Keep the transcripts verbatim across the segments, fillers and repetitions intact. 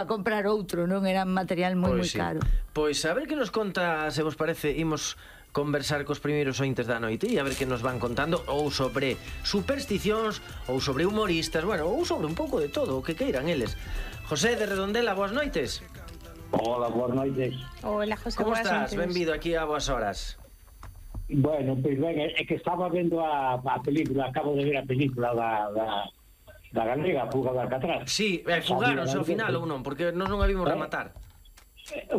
para comprar outro, non? Era material moi moi caro. Pois a ver que nos conta, se vos parece, imos conversar cos primeiros ointes da noite e a ver que nos van contando ou sobre supersticións ou sobre humoristas, bueno, ou sobre un pouco de todo, o que queiran eles. José de Redondela, boas noites. Hola, boas noites. Hola, José, como boas estás? noites. Benvido aquí a boas horas. Bueno, pois ben, é que estaba vendo a, a película, acabo de ver a película da, da, da galega, Fuga de Alcatraz. Sí, eh, fugaronse ao final ou non, porque nós non a vimos eh, rematar.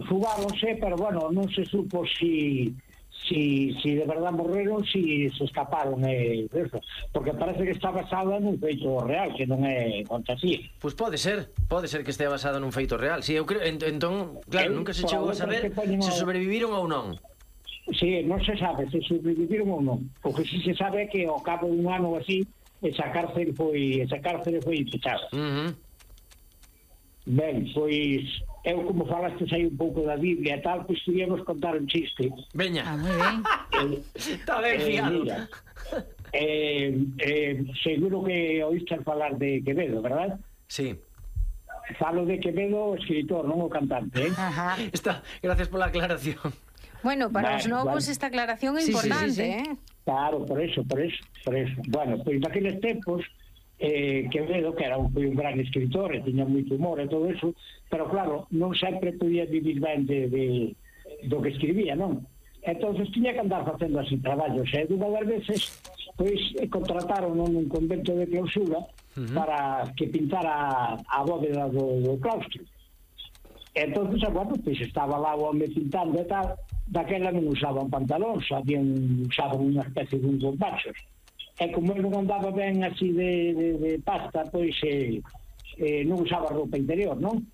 Fugaronse, pero bueno, non se supo si... Si, si de verdad morreron, si se escaparon eh, eso. Porque parece que está basada nun feito real, que non é fantasía. Pois pode ser, pode ser que estea basada nun feito real. Si, eu creo, ent entón, claro, Eh, nunca se por chegou a outra saber que poñen se ao- sobreviviron ou non. Sí, non se sabe se sobreviviron ou non. O que si se sabe é que ao cabo dun ano así, esa cárcel foi, esa cárcel foi pechada. Uh -huh. Ben, pois eu como falaste aí un pouco da Biblia e tal, pois queríamos contar un chiste. Veña. Ah, moi ben. Está ben fiado. Mira, eh, eh, seguro que oíste falar de Quevedo, verdad? Sí. Falo de Quevedo, o escritor, non o cantante, eh? Ajá. Está, gracias pola aclaración. Bueno, para Vale, os novos vale. esta aclaración é Sí, sí, importante, sí, sí. eh? Claro, por eso, por eso, por eso. Bueno, pois naqueles tempos eh, Quevedo, que era un, foi un gran escritor e tiña moito humor e todo eso, pero claro, non sempre podía vivir ben de, de, do que escribía, non? Entonces tiña que andar facendo así traballos, e dunha das veces pois contrataron nun convento de clausura uh -huh. para que pintara a bóveda do, do claustro. Entonces, bueno, pois estaba lá o home pintando e tal, daquela non usaban pantalóns, habían usaban unha especie de uns bombachos. E como ele non andaba ben así de, de, de pasta, pois eh, eh, non usaba roupa interior, non?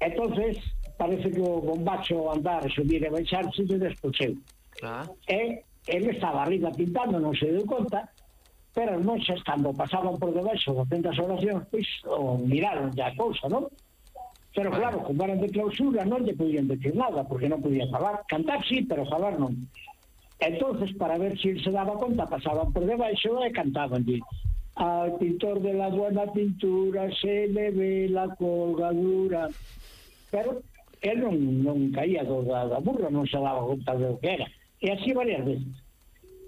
Entonces parece que o bombacho andar, subir e baixarse de despocheu. Ah. E ele estaba arriba pintando, non se deu conta, pero non xa cando pasaban por debaixo facendo as oracións, pois o miraron ya a cousa, non? Pero claro, como eran de clausura non lle podían decir nada, porque non podía falar. Cantar sí, pero falar non. Entonces, para ver se si se daba conta, pasaban por debaixo e cantaban. Al pintor de la buena pintura se le ve la colgadura. Pero él non, non caía do, da, da burra, non se daba conta do que era. E así varias veces.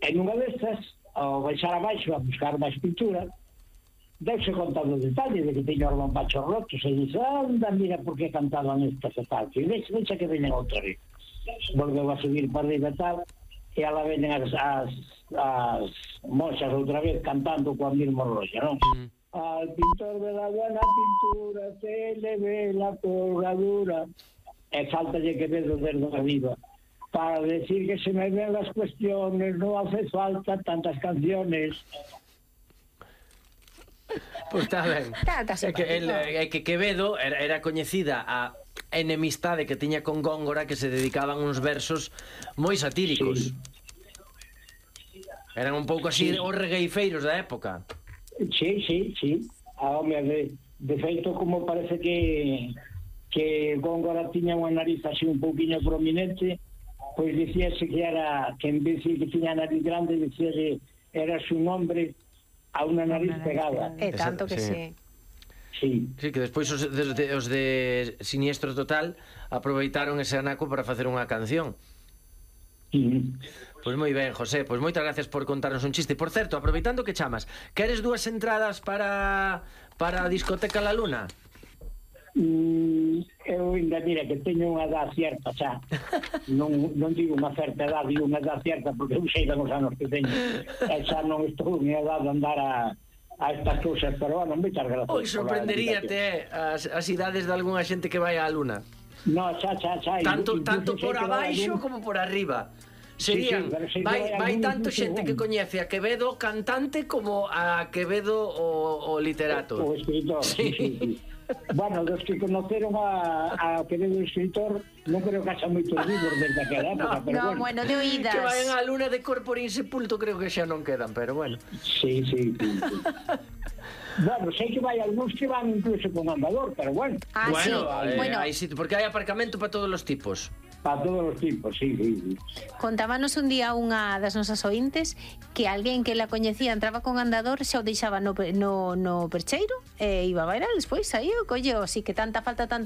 En unha destas, ao baixar abaixo a buscar máis pintura, deuse conta do detalle de que teño os bombachos rotos e dice, anda, mira por que cantaban estas e tal. E deixa, deixa que veñen outra vez. Volveu a subir para arriba e tal, e ala veñen as, as, as moxas outra vez cantando coa misma roxa, non? Mm. Al pintor de la buena pintura se le ve la colgadura. E faltalle Quevedo desde arriba para decir que se me ven las cuestiones, no hace falta tantas canciones. Pois está ben. Tá, tá é que, el, é que Quevedo era, era coñecida a enemistade que tiña con Góngora, que se dedicaban uns versos moi satíricos. Sí. Eran un pouco así sí. Os regueifeiros da época. Sí, sí, sí. A home, de, de feito, como parece que que Góngora tiña unha nariz así un pouquiño prominente, pois dicíase que era, que en vez de que tiña nariz grande, dicía que era su nombre a unha nariz pegada. É tanto que sí. Sí. Sí, que despois os de, os de Siniestro Total aproveitaron ese anaco para facer unha canción. Sí. Pois moi ben, José, pois moitas gracias por contarnos un chiste. Por certo, aproveitando que chamas, queres dúas entradas para para a discoteca La Luna? Mm, eu ainda mira que teño unha edad cierta xa. non, non digo unha certa edad, digo unha edad cierta porque eu sei dos anos que teño e xa non estou en edad de andar a, a estas cousas, pero bueno, moitas gracias. Oi, sorprenderíate as, as idades de algunha xente que vai á Luna. No, xa, xa, xa. Tanto, tanto por abaixo algún... como por arriba. Serían, sí, sí, vai, vai tanto xente que coñece a Quevedo cantante como a Quevedo o, o literato. O, o escritor, sí, sí, sí. Bueno, dos que conoceron a, a Quevedo escritor non creo que haxa moitos vivos desde aquela época, no, pero no, bueno. bueno, de oídas. Que vayan á Luna de corpo insepulto creo que xa non quedan, pero bueno. Sí, sí, sí, sí. Bueno, sei que vai algúns que van incluso con andador, pero bueno. Ah, bueno, sí, eh, bueno. Hay sitio, porque hai aparcamento para todos os tipos. Para todos os tipos, sí, sí, sí. Contábanos un día unha das nosas ointes que alguén que la coñecía entraba con andador xa o deixaba no, no, no percheiro e iba a bailar, despois saía, colleo, así que tanta falta, tanta